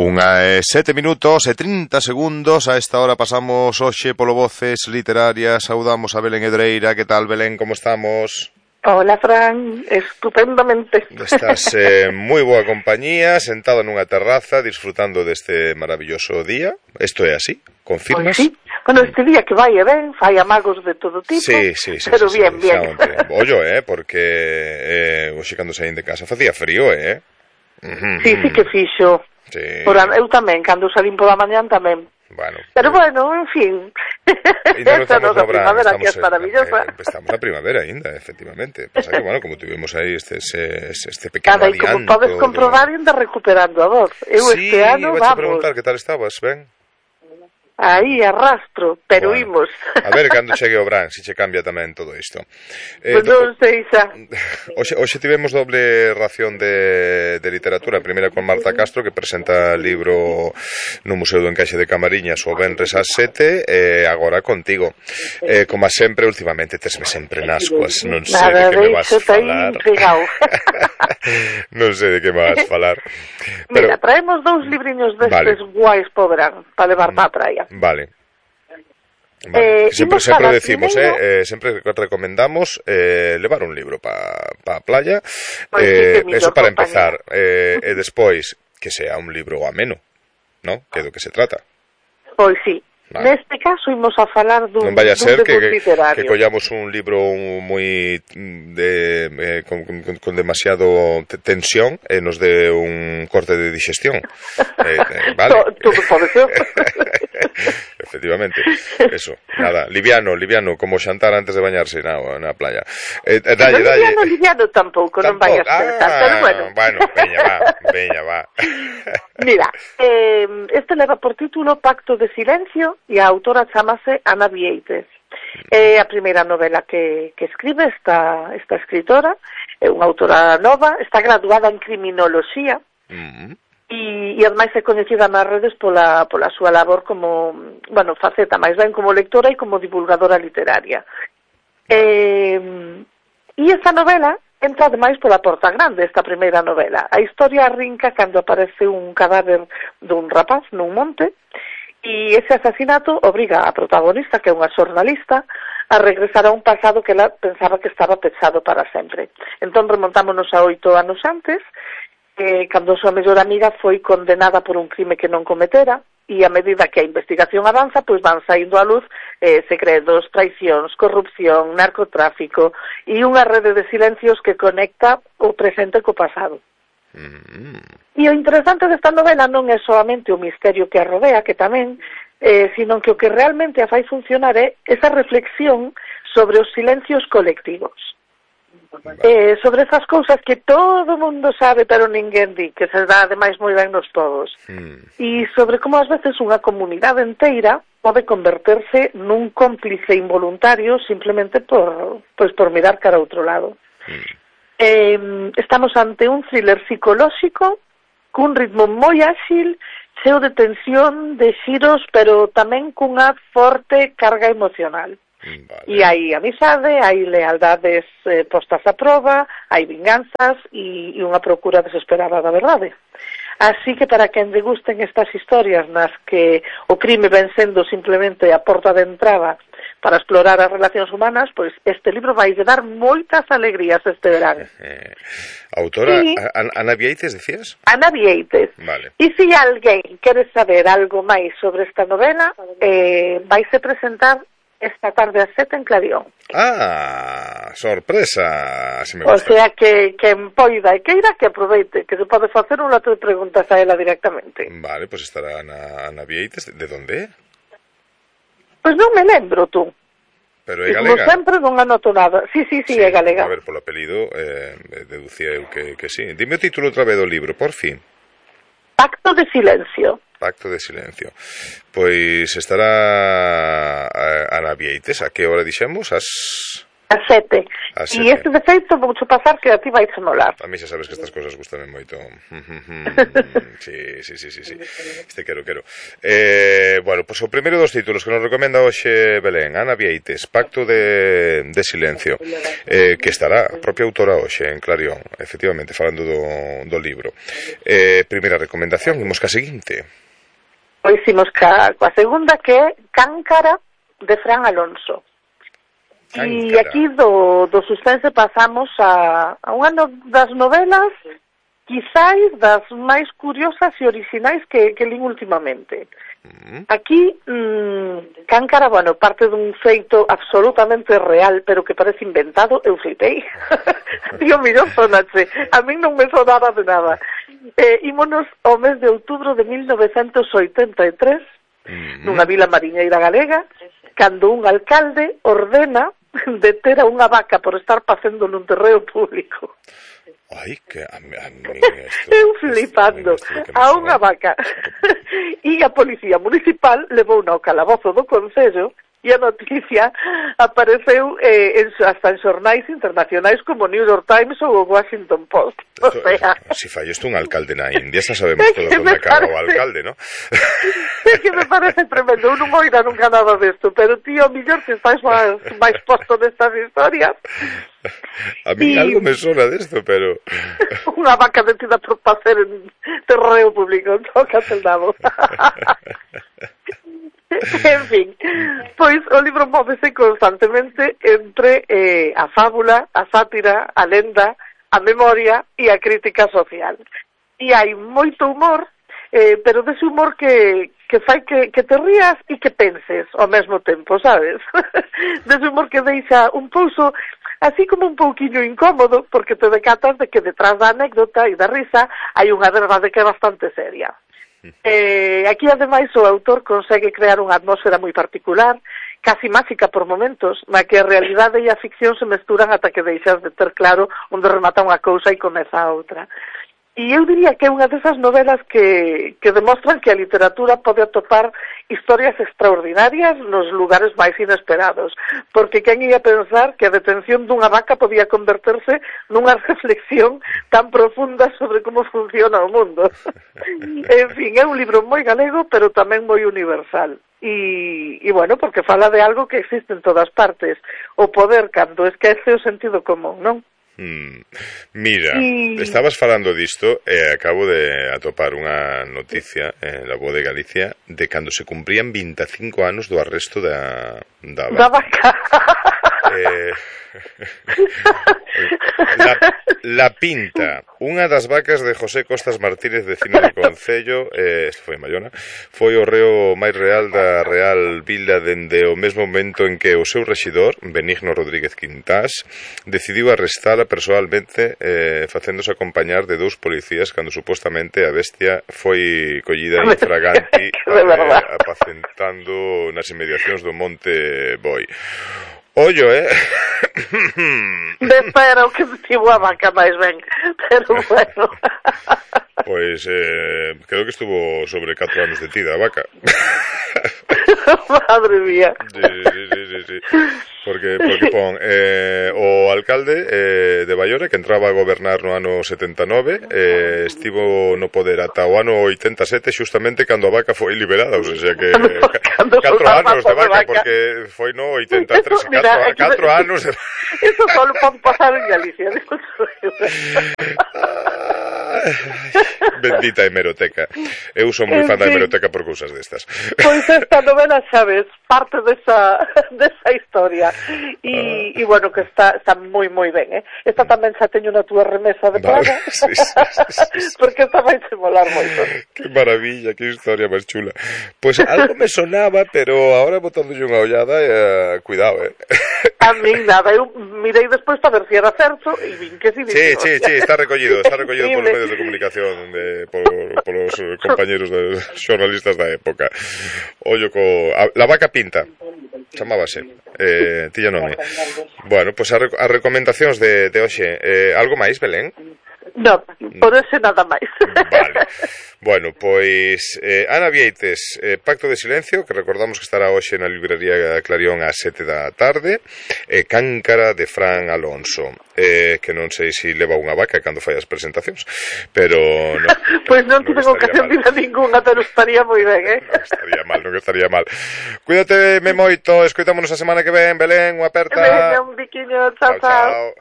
1:07:30. A esta hora pasamos hoxe polo Voces Literarias. Saudamos a Belén Hedreira. Que tal, Belén, como estamos? Hola, Fran, estupendamente. Estás moi boa compañía, sentado nunha terraza, disfrutando deste maravilloso día. Isto é así, confirmas? Pues sí, bueno, este día que vai e ven, fai amagos de todo tipo, sí, pero sí, bien. Ollo, porque hoxe cando saín de casa facía frío, Sí, que fixo. Sí. Eu tamén, cando salín pola mañán tamén. Bueno, pero bueno, en fin. Esta nosa primavera que é maravillosa. Estamos na primavera ainda, efectivamente. Pasa que, bueno, como tuvimos aí este pequeno adianto... E como podes comprobar, ainda recuperando a voz. Eu sí, este ano, vamos. Sí, preguntar que tal estabas, ben? Aí, arrastro, pero bueno, imos. A ver, cando chegue o Bran, se che cambia tamén todo isto. Pues non sei xa. Hoxe tivemos doble ración de literatura. A primeira con Marta Castro, que presenta o libro no Museo do Encaixe de Camariñas o venres ás 7, e agora contigo. Como sempre, últimamente tesme sempre nas coas. Non sei de que me vas falar. Non sei de que me vas falar. Mira, traemos dous libriños destes guais po verán, para levar para a praia. Vale. Sempre decimos, sempre recomendamos levar un libro para a playa, eso para empezar, e despois que sea un libro ameno, ¿no? Que é do que se trata. Pois sí. Vale. Neste caso imos a falar dun, non vaya a ser que collamos un libro moi con demasiado tensión e nos dé un corte de digestión. Vale. Todo pode ser. Efectivamente, eso, nada, liviano, como xantar antes de bañarse na playa. Liviano tampouco, non vai a pensar, pero bueno. Veña, va. Mira, este leva por título Pacto de Silencio e a autora chamase Ana Vieites. É a primeira novela que escribe esta escritora, é unha autora nova, está graduada en criminoloxía, e ademais é coñecida nas redes pola súa labor como, bueno, faceta máis ben como lectora e como divulgadora literaria. E esta novela entra ademais pola porta grande, esta primeira novela. A historia arrinca cando aparece un cadáver dun rapaz nun monte, e ese asasinato obriga a protagonista, que é unha xornalista, a regresar a un pasado que ela pensaba que estaba pechado para sempre. Entón remontámonos a 8 anos antes, cando a súa mellor amiga foi condenada por un crime que non cometera, e a medida que a investigación avanza, pois van saindo á luz segredos, traicións, corrupción, narcotráfico e unha rede de silencios que conecta o presente co pasado. E o interesante desta novela non é solamente o misterio que a rodea, que tamén, sino que o que realmente a fai funcionar é esa reflexión sobre os silencios colectivos. Sobre esas cousas que todo mundo sabe pero ninguén di, que se dá ademais moi ben nos todos, e sobre como ás veces unha comunidade inteira pode converterse nun cómplice involuntario simplemente por mirar cara a outro lado. Estamos ante un thriller psicolóxico cun ritmo moi áxil, cheo de tensión, de xiros, pero tamén cunha forte carga emocional. Vale. E hai amizade, hai lealdades postas a proba, hai vinganzas e unha procura desesperada da verdade. Así que para quen lle gusten estas historias nas que o crime ven sendo simplemente a porta de entrada para explorar as relacións humanas, pois este libro vai dar moitas alegrías este verán. Autora, sí. Ana Vieites, decías? Ana Vieites. Vale. E se alguén quere saber algo máis sobre esta novela, vaise presentar esta tarde a 7 en Clarión. Sorpresa, así me gusta. O sea que en poida e queira que aproveite, que se pode facer un lote de preguntas a ela directamente. Vale, pues estará Ana Vieites. De onde é? Pois non me lembro, tú. Pero é galega? Como sempre non anoto nada. Sí, é galega. A ver, polo apelido, deducía eu que sí. Dime o título outra vez do libro, por fin. Pacto de Silencio. Pacto de Silencio. Pois estará Ana Vieites. A que hora dixemos? A 7. A E 7. este defeito voucho pasar que a ti vais a molar. A mí xa sabes que estas cosas gustan moito. Sí. Este quero. Bueno, pois o primeiro dos títulos que nos recomenda hoxe Belén, Ana Vieites, Pacto de Silencio, que estará a propia autora hoxe en Clarión, efectivamente, falando do libro. Primeira recomendación, imos ca seguinte. Pois imos coa segunda, que é Cáncara, de Fran Alonso. E aquí do suspense pasamos a unha das novelas quizáis das máis curiosas e orixinais que lín últimamente. Aquí, Cáncara, bueno, parte dun feito absolutamente real, pero que parece inventado, eu flipei. Digo, millón sonache, a min non me sonaba de nada. Ímonos ao mes de outubro de 1983, nunha vila mariñeira galega, cando un alcalde ordena deter a unha vaca por estar facendo nun terreo público. Ai, que a mí eu flipando a unha vaca. E a policía municipal levou ao calabozo do concello e a noticia apareceu hasta en xornais internacionais como New York Times ou o Washington Post. O sea, si fai isto un alcalde na India, xa sabemos todos onde acaba o alcalde, ¿no? É que me parece tremendo, eu non oira nunca nada desto, pero tío, millor que estás máis posto nestas historias. A mí algo me sona desto, pero... Unha vaca detida por facer en terreo público, tócate el nabo. En fin, pois o libro móvese constantemente entre a fábula, a sátira, a lenda, a memoria e a crítica social. E hai moito humor, pero dese humor que fai que te rías e que penses ao mesmo tempo, sabes? Dese humor que deixa un pouso así como un pouquiño incómodo, porque te decatas de que detrás da anécdota e da risa hai unha verdade que é bastante seria. Aquí, ademais, o autor consegue crear unha atmósfera moi particular, casi máxica por momentos, na que a realidade e a ficción se mesturan ata que deixas de ter claro onde remata unha cousa e comeza a outra. E eu diría que é unha desas novelas que demostran que a literatura pode atopar historias extraordinarias nos lugares máis inesperados, porque quen ia pensar que a detención dunha vaca podía converterse nunha reflexión tan profunda sobre como funciona o mundo. En fin, é un libro moi galego, pero tamén moi universal. E bueno, porque fala de algo que existe en todas partes, o poder cando esquece o sentido común, non? Mira, estabas falando disto e acabo de atopar unha noticia en La Voz de Galicia de cando se cumprían 25 anos do arresto da vaca. La Pinta, unha das vacas de José Costas Martínez, vecino do Concello, isto foi en Bayona, foi o reo máis real da Real Vila dende o mesmo momento en que o seu rexidor, Benigno Rodríguez Quintás, decidiu arrestala persoalmente, facéndose acompañar de 2 policías cando supostamente a bestia foi collida infraganti apacentando nas inmediacións do Monte Boi. Ollo, Espera, o que estivo a vaca máis ben, pero bueno. Pois creo que estuvo sobre 4 anos detida a vaca. Madre mía. Sí. Porque pon o alcalde de Baiona, que entraba a gobernar no ano 79, estivo no poder ata o ano 87, xustamente cando a vaca foi liberada, ou sea que 4 anos de vaca, porque foi no 83, 4 anos de... Eso solo pode pasar en Galicia. Bendita hemeroteca. Eu son moi fan da hemeroteca por cousas destas. Pois esta novela, sabes, parte desa historia. E bueno, que está moi moi ben, Esta tamén xa teño na túa remesa de praga. Sí. Porque esta vai se molar moito. Que maravilla, que historia máis chula. Pois algo me sonaba, pero agora botándolle unha ollada, cuidado, A min nada, eu mirei despois para ver se era certo e vin que si. Sí, está recollido polos medios de comunicación polos compañeros xornalistas da época. Ollo La Vaca Pinta chamábase, tilla nome. Bueno, pois as recomendacións de hoxe. Algo máis, Belén? No, por ese nada máis. Vale. Bueno, pois Ana Vieites, Pacto de Silencio, que recordamos que estará hoxe na librería Clarión ás 7 da tarde, Cáncara de Fran Alonso, que non sei se leva unha vaca cando fai as presentacións, pero pois non tiven ocasión de ir a ninguna, pero estaría moi ben, non estaría mal. Cuídate moito, escoitámonos a semana que ven, Belén, unha aperta. Venga, un biquiño, chao.